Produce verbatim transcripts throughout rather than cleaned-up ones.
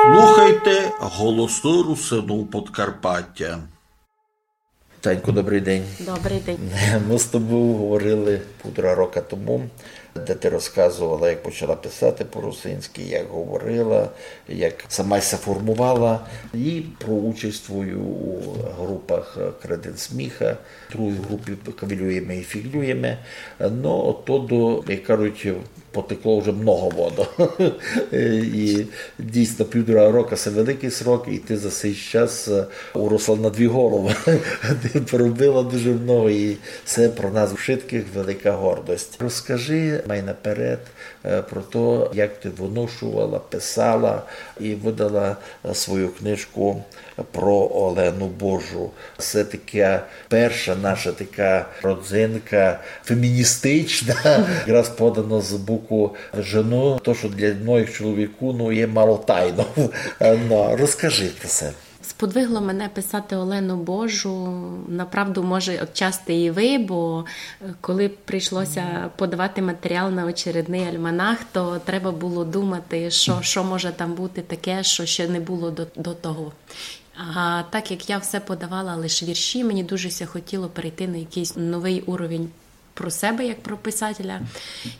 Слухайте Голосы Русинув Подкарпатя. Танько, добрый день. Добрый день. Мы з тобов говорили пудра рока тому, де ты розказовала, як почала писати по-русинськы, як говорила, як сама ся формовала, і про участь твою у групах, е, «Креден сміха», другій групі «Кавілюєме і фіґлюєме». Но, от то до, як кажуть, потекло вже много воды. І дійсно, півтора рока — се великый срок, і ты за сей час, е, уросла на дві головы. Ты поробила дуже много, і се про нас вшыткых велика гордость. Розкажи май наперед, е, про то, як ты выношовала, писала і выдала, е, свою книжку про Олену Божу. Се така перша наша така родзинка феміністична, якраз подана з боку жены. То, што для многых чоловікув, ну, є мало тайнов. Но, розкажи про се. Сподвигло мене писати Олену Божу, направду, може, отчасти і вы, бо, е, коли прийшлося подавати матеріал на очередный альманах, то треба было думати, што, што може там бути таке, што ще не было до, до того. А так як я все подавала лише вірші, мені дуже ся хотіло перейти на якийсь новый уровень про себе, як про писателя,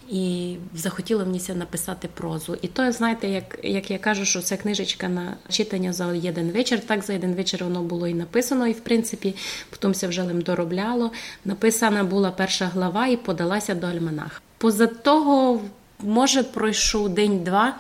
і захотіло мені ся написати прозу. І то, знаєте, як, як я кажу, што се книжечка на читаня за єден вечір, так за єден вечір воно было і написано, і, в принципі, потім ся вже лим доробляло. Написана была перша глава і подала ся до альманаха. Поза того, може, пройшов день-два,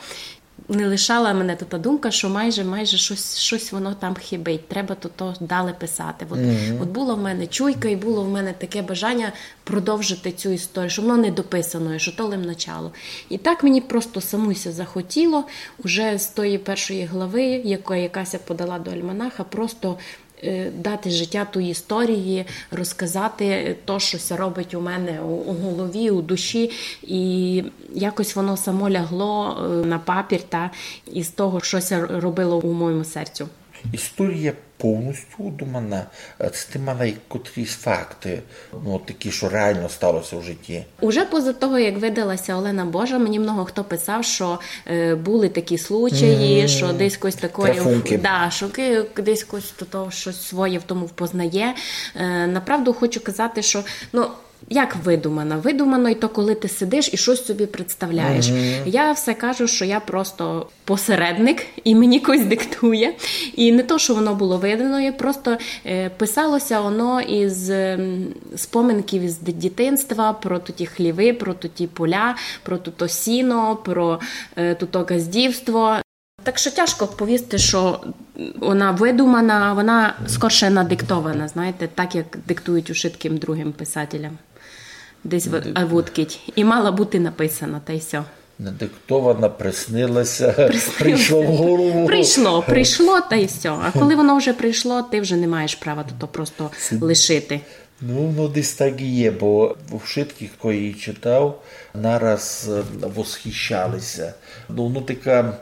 не лишала мене та думка, што майже, майже штось, штось воно там хибить, треба то, то далі писати. От, от было в мене чуйка і было в мене таке бажаня продовжити цю історію, што воно не дописано, што то лим начало. І так мені просто самуй ся захотіло уже з тої першої главы, яка, яка ся подала до альманаха, просто, е, дати життя тій історії, розказати то, што ся робить у мене у, у голові, у душі. І якось воно само лягло, е, на папір, та, із того, што ся робило у моєму серцю. Історія повністю удумана. Е, ци ты мала якотрісь факты, ну, такі, што реално стало ся в житті? Уже поза того, як выдала ся Олена Божа, мені много хто писав, што, е, были такі случаї, што десь кось такоє, да, што ки-, десь кось до того штось своє в тому впознає. Е, направду хочу казати, што, ну, як выдумана? Выдумано й то, коли ты сидиш і штось собі представляєш. Я все кажу, што я просто посередник, і мені кось диктує. І не то, што воно было выдумано, просто, е, писало ся воно із, ем, споминків із ди-, дітинства, про туті хлівы, про туті поля, про туто сіно, про, е, туто ґаздівство. Так што тяжко повісти, што вона выдумана, вона скорше надиктована, знаєте, так, як диктують ушыткым другым писателям. Десь в-, а вудкіть. І мала бути написана, та й всьо. Надиктована, приснила ся, прийшло в голову. Прийшло, прийшло, та й всьо. А коли воно вже прийшло, ты вже не маєш права то, то просто лишити. Ну, ну, десь так і є, бо у вшыткых, хто її читав, нараз, е, восхищали ся. Ну, ну, така, м,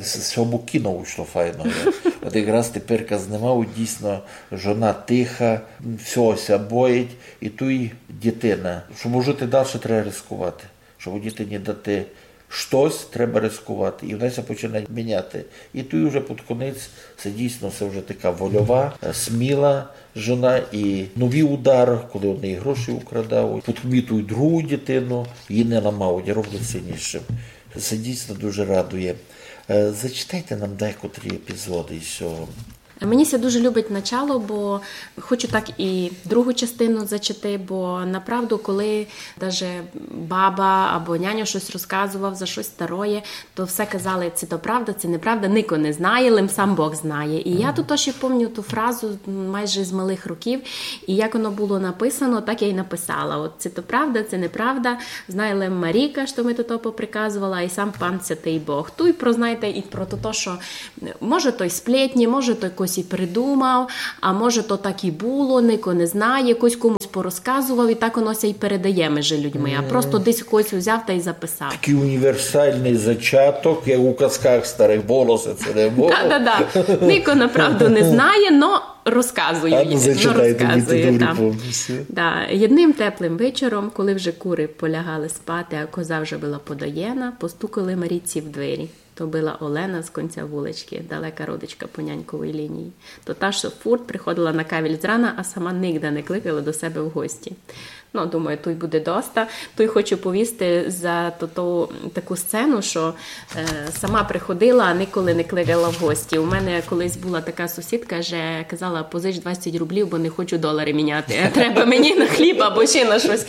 з, з сього боку кіно вышло файно, є. От якраз теперка знімав, дійсно, жона тиха, всього ся боїть, і туй дітина. Щоб жити дальше, треба ризикувати. Щоб дітині дати штось, треба ризикувати. І вона ся починає міняти. І туй уже під конець, се дійсно, се вже така вольова, е, сміла жона. І новый удар, коли вони її гроші украдають, потім туй другу дітину, її не ламають, роблять сильнішим. Се дійсно дуже радує. Е, зачитайте нам декотрі епізоды із сього. Мені ся дуже любить начало, бо хочу так і другу частину зачити, бо направду, коли даже баба або няньо штось розказовав за штось староє, то все казали, ци то правда, ци неправда, нико не знає, лим сам Бог знає. І я туй ще помню ту фразу, м, майже з малых років, і як воно было написано, так я й написала. От ци то правда, ци неправда, знає лим Марійка, што ми то поприказовала, і сам пан Святый Бог. Туй про, знаєте, і про то, што може, то й сплетні, може, то кось і придумав, а може, то так і было, нико не знає, кось комусь порозказовав, і так воно ся й передає межи людьми. А просто десь кось узяв та й записав. Такый універсальный зачаток, як у казках старых, было се ци не было. Да, да, да. Нико направду не знає, но розказує. А ну, зачитайте, розказує, будьте добрі, да. Повністю. Да. Єдным теплым вечором, коли вже куры полягали спати, а коза вже была подоєна, постукали Марійці в двері. То была Олена з кінця вуличкы, далека родичка по няньковій лінії. То та, што фурт приходила на кавіль зрана, а сама нигде не кликала до себе в гості. Ну, думаю, туй буде доста. Туй хочу повісти за ту, ту таку сцену, што е, сама приходила, а николи не кликала в гості. У мене колись была така сусідка, же казала: «Позич двадцять рублів, бо не хочу долары міняти. Треба мені на хліб або ще на штось».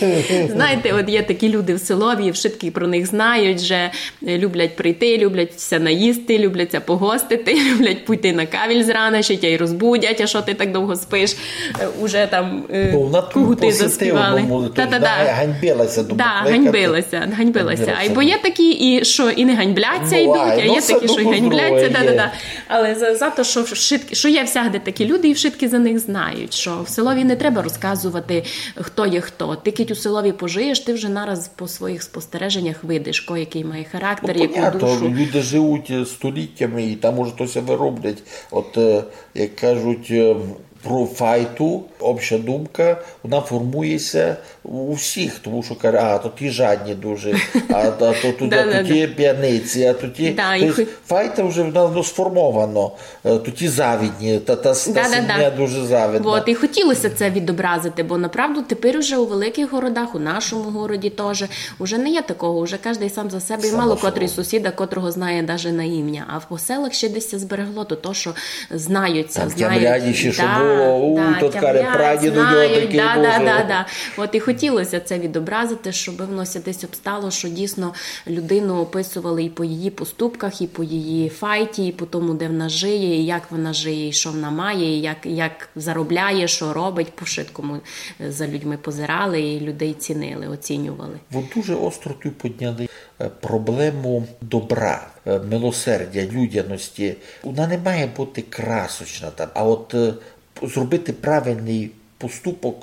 Знаєте, от є такі люди в селові, вшыткі про них знають, же е, люблять прийти, люблять ся наїсти, люблять ся погостити, люблять пойти на кавіль зрана, ще тя й розбудять, а што ты так довго спиш? Е, уже там е, Бо вона тут кугуты по заспівали. сетивному, то Та-та-та. Вона ганьбила ся дома Да, кликати. ганьбила ся, ганьбила ся. Ганьбила Ай, ся. Бо є такі, і што і не ганьбляться, Буває. йдуть, а Ну, є се такі, што й дуже ганьбляться. здорово є. Да-да-да. Але за, за то, што, вшыткі, што є всягды такі люди, і вшыткі за них знають, што в селові не треба розказовати, хто є хто. Ты кідь у селові пожиєш, ты вже нараз по своїх спостереженнях видиш, ко якый має характер, Ну, яку понятно, душу. Люди живуть е, століттями, і там уже то ся вироблять. От, е, як кажуть, е, про файту, обща думка, вона формує ся у всіх, тому што каже, а, то ті жадні дуже, а, а то туди, Да-да-да. то ті п'яниці, а то ті... Да, то і єсть, хо- файта вже в нас, ну, сформовано, е, то ті завідні, та, та, та Да-да-да. сім'я дуже завідна. От, і хотілося це відобразити, бо направду тепер уже у великих городах, у нашому городі теж, уже не є такого, уже кожен сам за себе, і мало собою. Котрий сусіда, котрого знає даже на ім'я. А по селах ще десь це зберегло, то, то що знаються, Там знають. тямлять ще, що Да, було, у, да, тот каже, тямлять, прадіду його знають, такий да, був, да, що да, да. От і хотілося це відобразити, щоб воно ся десь обстало, що дійсно людину описували і по її поступках, і по її файті, і по тому, де вона жиє, і як вона жиє, і що вона має, і як, як заробляє, що робить, по вшыткому е, за людьми позирали і людей цінили, оцінювали. От дуже остро тут підняли е, проблему добра, е, милосердя, людяності. Вона не має бути красочна там, а от е, зробити правильний поступок,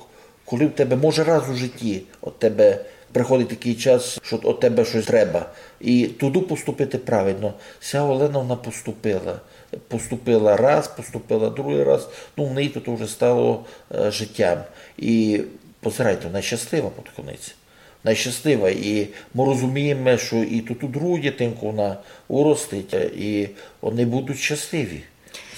коли в тебе, може, раз у житті от тебе приходить такий час, що от тебе щось треба, і туди поступити правильно. Ся Олена, вона поступила. Поступила раз, поступила другий раз, ну, в неї то вже стало е, життям. І позирайте, вона щаслива під кінець. Вона щаслива, і ми розуміємо, що і ту, ту другу дитинку вона уростить, і вони будуть щасливі.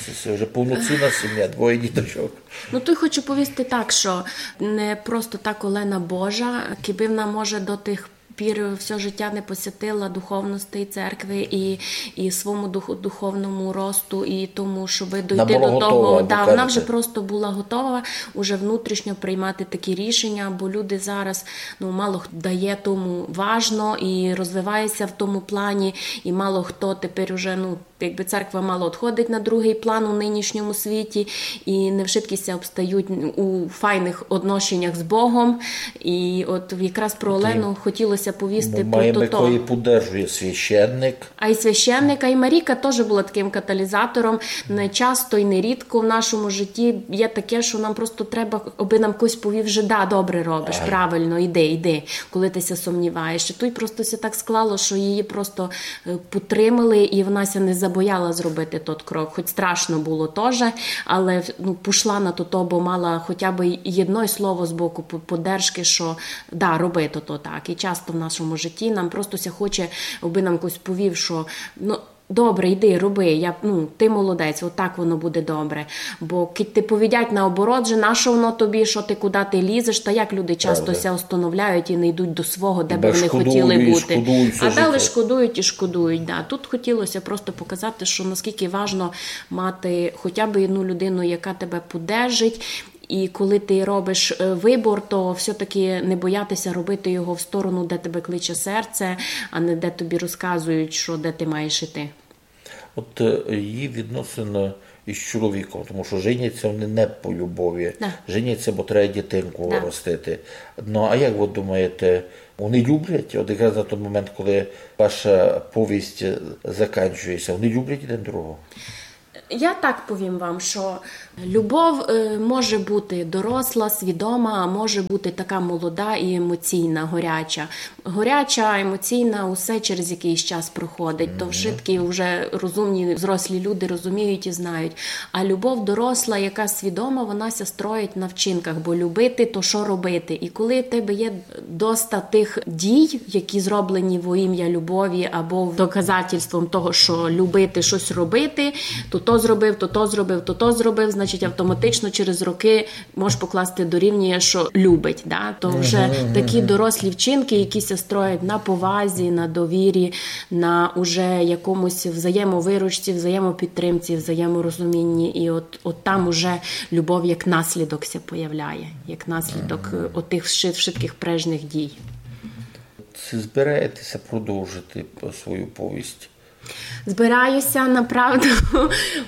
Це, це вже повноцінна сім'я, двоє діточок. Ну, тут хочу повісти так, що не просто так Олена Божа, кибы вона, може, до тих пір все життя не посвятила духовності церкви і, і своєму дух, духовному росту, і тому, щоб дойти була до готова, того. ви Да, вона кажете. Вже просто була готова уже внутрішньо приймати такі рішення, бо люди зараз, ну, мало хто дає тому важно і розвивається в тому плані, і мало хто тепер уже, ну, якби церква мало відходить на другий план у нинішньому світі, і не вшыткі ся обстають у файних отношеннях з Богом. І от якраз про Олену хотілося повісти Ми про маємо, то. якої поддержує священник. А й священник, а й Маріка теж була таким каталізатором. Не часто і не рідко в нашому житті є таке, що нам просто треба, аби нам хтось повів, що да, добре робиш, правильно, іди, іди, коли ти ся сумніваєш. І тут просто ся так склало, що її просто е, підтримали, і вона ся не забояла зробити тот крок. Хоч страшно було теж, але, ну, пішла на то, бо мала хоча б і єдно слово з боку по- поддержки, що да, роби то, то так. І часто в нашому житті нам просто ся хоче, аби нам хтось повів, що, ну, добре, йди, роби, я, ну, ти молодець, отак воно буде добре. Бо кидь ти повідять наоборот, же на що воно тобі, що ти, куди ти лізеш, та як люди часто ся остановляють і не йдуть до свого, де би вони хотіли бути. А далі шкодують і шкодують. Да. Тут хотілося просто показати, що наскільки важно мати хоча б одну людину, яка тебе поддержить, і коли ти робиш е, вибор, то все-таки не боятися робити його в сторону, де тебе кличе серце, а не де тобі розказують, що де ти маєш іти. От е, її відносини із чоловіком, тому що женяться вони не по любові, Да. Женяться, бо треба дітинку Да. ростити. Ну, а як ви думаєте, вони люблять, от якраз на той момент, коли ваша повість е, закінчується, вони люблять один другого? Я так повім вам, што любов е, може бути доросла, свідома, а може бути така молода і емоційна, горяча. Горяча, емоційна, усе через якыйсь час проходить. То вшыткі вже розумні, взрослі люди розуміють і знають. А любов доросла, яка свідома, вона ся строїть на вчинках, бо любити, то што робити? І коли в тебе є доста тых дій, які зроблені во імя любові або доказательством того, што любити штось робити, то то зробив, то то зробив, то то зробив, значить, автоматично через рокы можеш покласти дорівнює, што любить. Да? То вже такі дорослі вчинкы, які ся строять на повазі, на довірі, на уже якомусь взаємовиручці, взаємопідтримці, взаєморозумінні. І от, от там уже любов як наслідок ся появляє, як наслідок е, отих вши- вшыткых прежніх дій. Ци збираєте ся продовжити свою повість? Збираю ся, направду.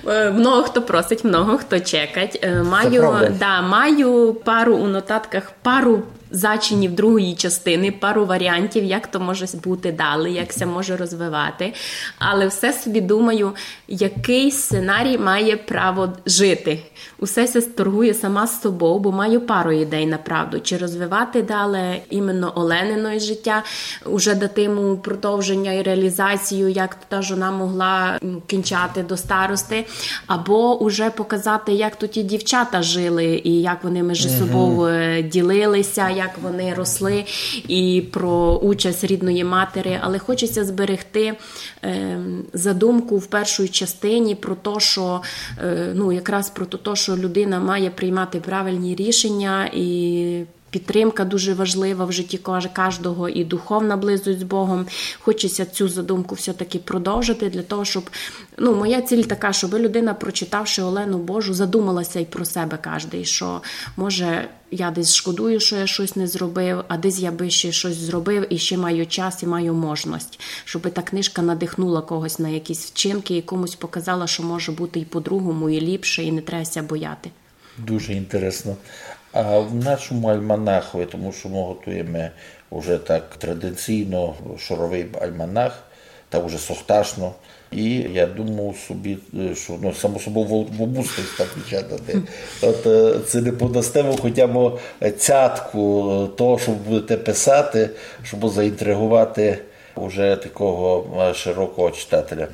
Е, много хто просить, много хто чекать. Е, Маю, правда. Да, маю пару у нотатках, пару зачинів другої частины, пару варіантів, як то може бути далі, як ся може розвивати. Але все собі думаю, якый сценарій має право жити. Усе ся торгує сама з собов, бо маю пару ідей, направду. Чи розвивати далі іменно Оленино життя, уже дати йому продовження і реалізацію, як та жона могла м, кінчати до старости, або уже показати, як то ті дівчата жили, і як вони між собов е, ділили ся, як вони росли, і про участь рідної матері. Але хоче ся зберегти ем, задумку в першій частині про те, што е, ну, якраз про те, што людина має приймати правильні рішення і підтримка дуже важлива в житті кож- кожного, і духовна близость з Богом. Хоче ся цю задумку все-таки продовжити для того, щоб, ну, моя ціль така, щоб людина, прочитавши Олену Божу, задумала ся і про себе кожен, што, може, я десь шкодую, што я штось не зробив, а десь я би ще штось зробив, і ще маю час, і маю можность, щоб та книжка надихнула когось на якісь вчинки і комусь показала, што може бути і по-другому, і ліпше, і не треба ся бояти. Дуже інтересно. А в нашому альманахови, тому што мы готуєме уже так традиційно шоровый альманах, так уже сохташно. І я думав собі, е, што, ну, само собою, в, в августі ся печатати. От е, ци не подасте вы хоча б цятку е, того, што будете писати, щоб заінтриговати уже такого е, широкого читателя.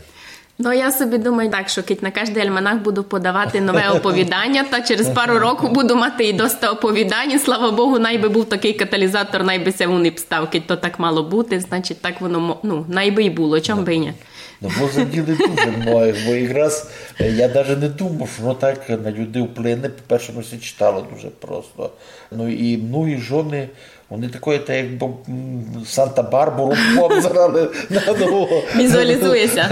Ну, я собі думаю так, што кідь на кождый альманах буду подавати нове оповіданя, та через пару років буду мати і доста оповідань. Слава Богу, най би быв такый каталізатор, най би ся вун і став, кідь то так мало бути, значить, так воно мо- ну, най би й було, чом би й ні. Ну, бо заділи дуже многых, бо якраз е, я даже не думав, што воно так на людей вплине. По-перше, воно ся читало дуже просто. Ну і многі жоны, вони такої, та якби м, Санта-Барбару обзирали на ново. Візуалізує ся.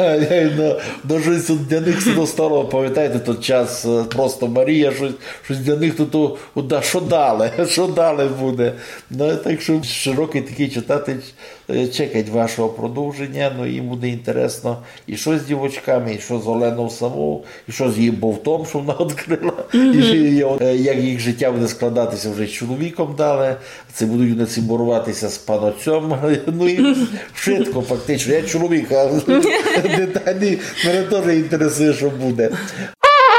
Ну, ну, штось от для них ся достало, памятаєте, тот час е, просто Марія, штось, штось для них то, то от, да, што далі, што далі буде. Ну, так што широкый такый читатель е, чекать вашого продовженя, ну, їм буде інтересно і што з дівочками, і што з Оленов самов, і што з її бовтом, што вона відкрила, і е, як їх житя буде складати ся вже з чоловіком далі, ци будуть вони цимборувати ся з панотцьом, ну і вшытко фактично. Я чоловік, а деталі мене тоже інтересує, што буде.